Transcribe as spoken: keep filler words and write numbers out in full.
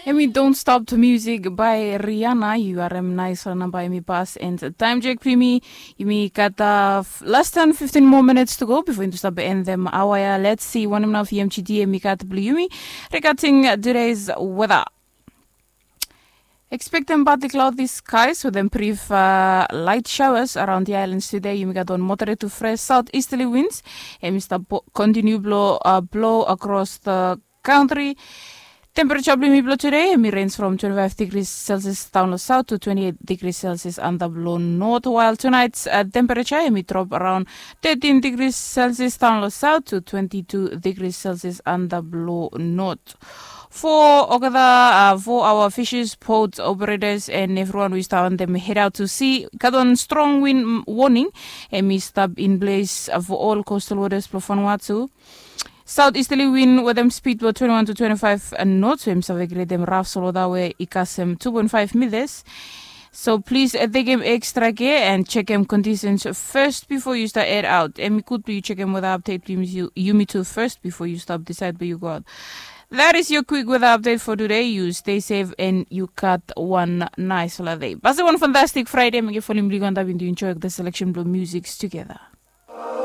Em i Don't Stop to Music by Rihanna. Yu harem naisfala namba em i pas, and taem jek blong yumi, yumi gat less than fifteen more minutes to go before yumi stap end them awa ya. Let's see wanem nao V M G D em i gat blong yumi regarding today's weather. Expecting partly cloudy skies with them brief uh, light showers around the islands today. Yumi gat on moderate to fresh southeasterly winds. Em i stap continue blow, uh, blow across the country. Temperature blong yumi blong today em i range from twenty-five degrees Celsius down lo south to twenty-eight degrees Celsius under blong north, while tonight's uh, temperature em i drop around thirteen degrees Celsius down lo south to twenty-two degrees Celsius under blong north. For olgeta uh, for our fishers, boat operators, and everyone we start on them head out to sea, got on strong wind warning em i stap in place uh, for all coastal waters blong Vanuatu. Southeasterly wind with them speed about twenty-one to twenty-five knots, so em save create them rough solo that way i kasem two point five meters. So please uh, take them extra care and check them conditions first before you start head out. Em i good to you check them with update you, you me too first before you stop decide where you go out. That is your quick weather update for today. You stay safe and you got one nice holiday. Basi one fantastic Friday. Make you follow me on to enjoy the selection blong musics together.